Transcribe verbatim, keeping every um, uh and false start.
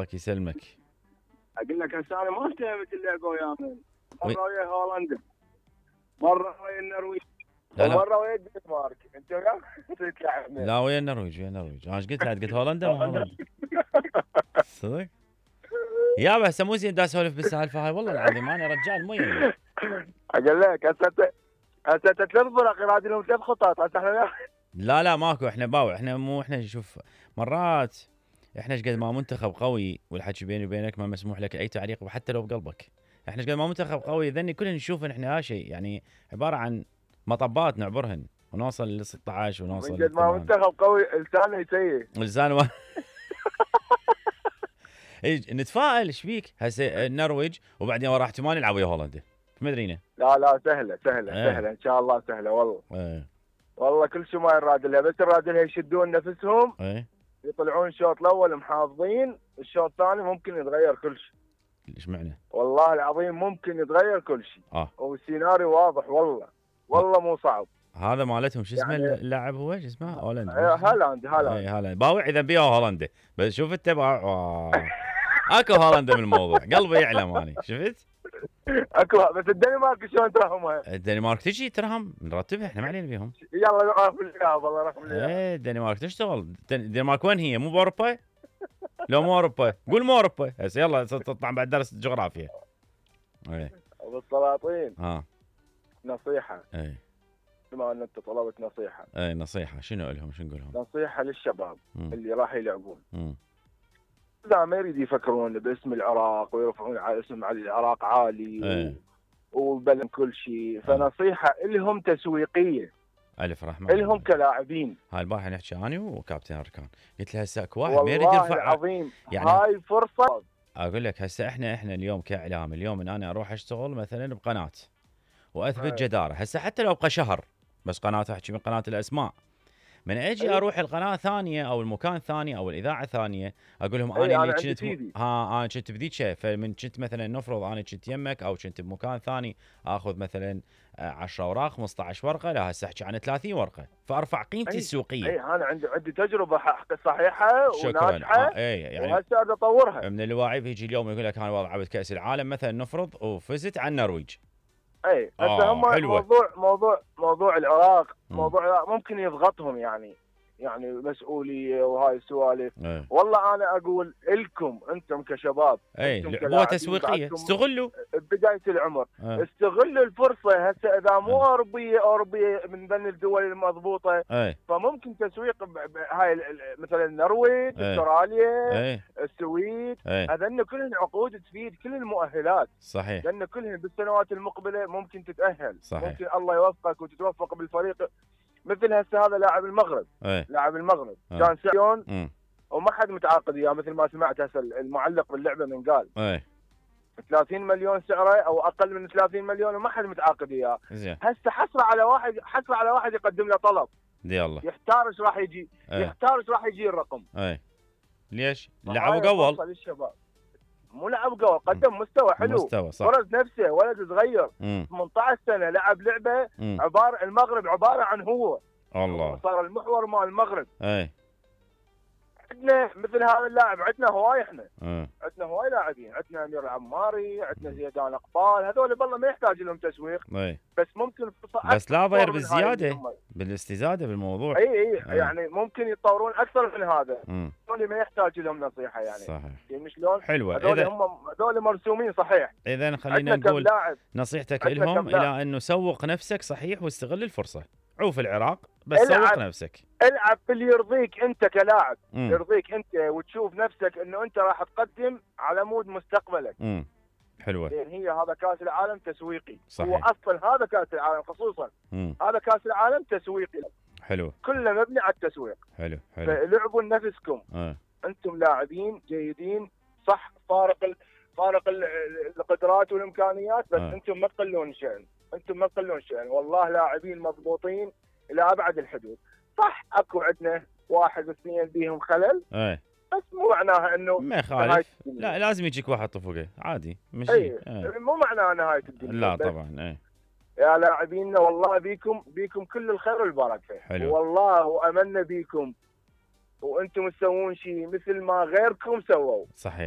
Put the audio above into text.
الله يسلمك. اقول لك هسه انا ما اهتمت اللعبه ويا من وي- مره ويا هولندا، مره ويا النرويج، لا لا ومره ويا الدنمارك. انت وياك تتلعب لا ويا النرويج ويا النرويج. انا ايش قلت لك؟ قلت هولندا ما هولندا. صدق؟ يابا هسه مو زين دا اسولف بالسالفه هاي والله العظيم انا رجال مو يمي. اقول لك هسه ت- هسه ت- ثلاث فرق يراد لهم ثلاث خطط. هسه احنا وياك. لا لا ماكو، احنا باوع، احنا مو احنا شوف مرات احنا ايش قد ما منتخب قوي والحكي بيني وبينك ما مسموح لك اي تعليق وحتى لو بقلبك. احنا ايش قد ما منتخب قوي ذني كلنا نشوف ان احنا شيء يعني عباره عن مطبات نعبرهن ونوصل ل ستة عشر ونوصل من قد ما ل منتخب قوي لسانه يسيء. لسان و... إيه، نتفائل ايش بيك؟ هسه النرويج وبعدين ورا احتمال يلعب ويا هولندا ما ادرينا. لا لا سهله سهله ايه. سهله ان شاء الله سهله والله. ايه والله كل شيء ما يراد لها، بس يراد لها يشدون نفسهم، ايه يطلعون الشوط الاول محافظين، الشوط الثاني ممكن يتغير كل شيء. ايش معنى؟ والله العظيم ممكن يتغير كل شيء. اه والسيناريو واضح والله، والله مو صعب. هذا مالتهم شو اسمه يعني- اللاعب هو شو اسمه؟ هولندا. إيه، هالاند هالاند اي هالاند باوع اذا بيها هولندا، بس شوف انت باوع اكو هولندا من الموضوع قلبي يعلم اني شفت؟ اكو. بس الدنمارك شلون تراهمها؟ الدنمارك تجي تراهم نرتبها احنا ما علينا بيهم. يلا نعرف اياها والله رقم اياها. ايه الدنمارك تشتغل. الدن- الدنمارك وين هي؟ مو باوروبا؟ لو مو اوروبا قول مو اوروبا هسه يلا تطلع بعد درس جغرافيا. ايه بالسلاطين ها نصيحه، ايه بما ان انت طلبت نصيحه، ايه نصيحه شنو لهم شنو نقول لهم؟ نصيحه للشباب مم. اللي راح يلعبون. مم. لا ما يريد يفكرون باسم العراق ويرفعون على اسم على العراق عالي ايه وبلن كل شيء، فنصيحه لهم تسويقيه الف رحمه لهم كلاعبين. هاي البارحه نحكي اني وكابتن اركان قلت له هسه اكو واحد ما يريد والله يرفع. العظيم يعني- هاي فرصه. اقول لك هسه احنا احنا اليوم كاعلام اليوم ان انا اروح اشتغل مثلا بقناه واثبت أي. جداره، هسه حتى لو ابقى شهر بس قناه احكي من قناه الاسماء، من اجي أي. اروح القناه ثانيه او المكان ثاني او الاذاعه ثانيه اقول لهم أي، انا أنا اللي عندي كنت سيدي. ها انا كنت بذيك، فمن كنت مثلا نفرض انا كنت يمك او كنت بمكان ثاني اخذ مثلا عشرة اوراق خمسة عشر ورقه، لا هسه احكي عن ثلاثين ورقه فارفع قيمتي أي. السوقيه. اي انا عندي عندي تجربه حق صحيحه شكرا. وناجحه، آه اي يعني وهسه اريد اطورها. من الواعي يجي اليوم يقول لك انا والله لعبت كاس العالم مثلا نفرض وفزت على النرويج. اي هسه آه، هم حلوة. موضوع موضوع موضوع العراق، مم. موضوع العراق ممكن يضغطهم يعني، يعني مسؤوليه وهاي السوالف. ايه والله انا اقول لكم انتم كشباب، اي أنتم هو كلاعبين تسويقيه بعدكم استغلوا. بدايه العمر، ايه استغلوا الفرصه. هسه اذا مو أه. اوروبيه اوروبيه من بين الدول المضبوطه، ايه فممكن تسويق ب- ب- هاي ال- ال- مثلا النرويج، أه. استراليا، ايه السويد، ايه هذن كلهن عقود تفيد كل المؤهلات، صحيح لان كلهن بالسنوات المقبله ممكن تتاهل. صحيح. ممكن الله يوفقك وتتوفق بالفريق. مثل هسه هذا لاعب المغرب، ايه لاعب المغرب أه. كان سيون امم وما حد متعاقد اياه، مثل ما سمعت هسه المعلق باللعبه من قال ايه ثلاثين مليون سعره او اقل من ثلاثين مليون وما حد متعاقد اياه. زين هسه حسره على واحد، حسره على واحد يقدم له طلب، دي الله. يحتار ايش راح يجي، ايه يحتار ايش راح يجي الرقم. ايه ليش؟ فهاي لعبوا قول فرصة للشباب. مو لعب قول، قدم مستوى حلو، مستوى صح. فرز نفسه، ولد صغير امم ثمانية عشر سنه لعب لعبه امم عباره المغرب عباره عن هو الله. صار المحور مال المغرب. ايه عندنا مثل هذا اللاعب، عندنا هواي، احنا ايه عندنا هواي لاعبين، عندنا امير العماري، عندنا زيدان اقبال، هذول بالله ما يحتاج لهم تسويق، ايه بس ممكن فرصة بس لا أكثر ضير من هاي بالزياده اللي هم- بالاستزاده بالموضوع. اي اي أي. يعني ممكن يتطورون اكثر من هذا. امم هذول ما يحتاج لهم نصيحه يعني. صحيح يعني شلون؟ حلوه. هذول اذا هم هذول مرسومين صحيح. اذا خلينا عندنا كم نقول لاعب، نصيحتك عندنا لهم كم لاعب. الى انه سوق نفسك صحيح واستغل الفرصه. عوف العراق بس العب. سوق نفسك. العب في اللي يرضيك انت كلاعب، امم يرضيك انت وتشوف نفسك انه انت راح تقدم على مود مستقبلك. امم حلوه. لان هي هذا كاس العالم تسويقي. صحيح. هو اصلا هذا كاس العالم خصوصا، امم هذا كاس العالم تسويقي، حلو كله مبني على التسويق. حلو حلو. فلعبوا لنفسكم، اه انتم لاعبين جيدين صح، فارق ال... فارق ال... القدرات والامكانيات، بس آه. انتم ما تقلون شأن، انتم ما تقلون شأن، والله لاعبين مضبوطين الى ابعد الحدود. صح اكو عندنا واحد واثنين بيهم خلل، ايه بس مو معناها انه ما نهاية يخالف. الدنيا. لا لازم يجيك واحد طفقه عادي مشي. اي ايه. مو معناها نهايه الدنيا. لا بس طبعا ايه يا لاعبينا والله بيكم بيكم كل الخير والبركه. حلو. والله واملنا بيكم وانتم تسوون شيء مثل ما غيركم سووا. صحيح